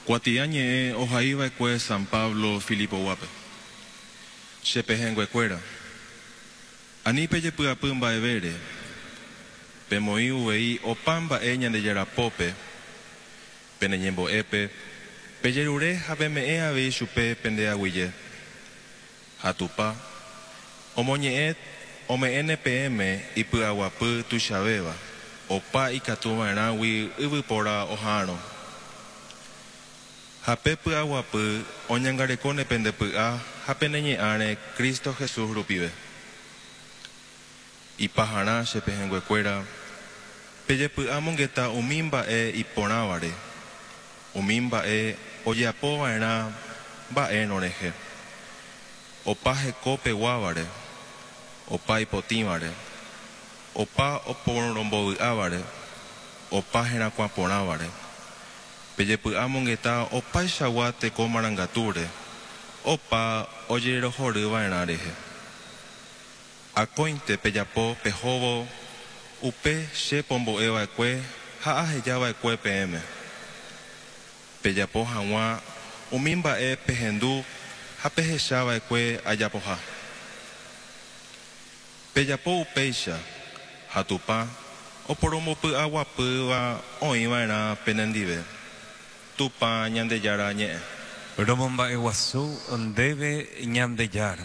Kuatiañe'ẽ ohaiva'ekue San Pablo Filipoguápe. Che pehẽnguekuéra, ani pejepy'apy mba'evére, pemoĩ uvei opa mba'e Ñandejára pópe, pene ñembo'épe, pejerure ha peme'ẽ avei chupe pende aguyje. Ha Tupã omoñe'ẽ ome'ẽne peẽme ipy'aguapy tuichavéva, opa ikatuva'erãgui yvypóra oha'arõ. Ha pe py'aguapy oñangarekóne pende py'a ha pene ñe'ãre Cristo Jesús rupive. Ipaharã che pehẽnguekuéra, pejepy'amongeta umi mba'e iporãvare, umi mba'e ojeapova'erã mba'érõ rehe, opa heko peguávare, opa ipotĩvare, opa oporombovy'ávare, opa herakuã porãvare. Pejepy'amongeta opaichagua teko marangatúre, opa ojerohoryva'erã rehe. Akóinte pejapo pehóvo upe che pombo'eva'ekue ha ahejava'ekue peẽme. Pejapo hag̃ua umi mba'e pehendu ha pehechava'ekue ajapoha. Pejapo upéicha ha Tupã oporombopy'aguapýva oĩva'erã penendive. Tupã Ñandejára ñe'ẽ. Romomba'eguasu ndéve Ñandejára.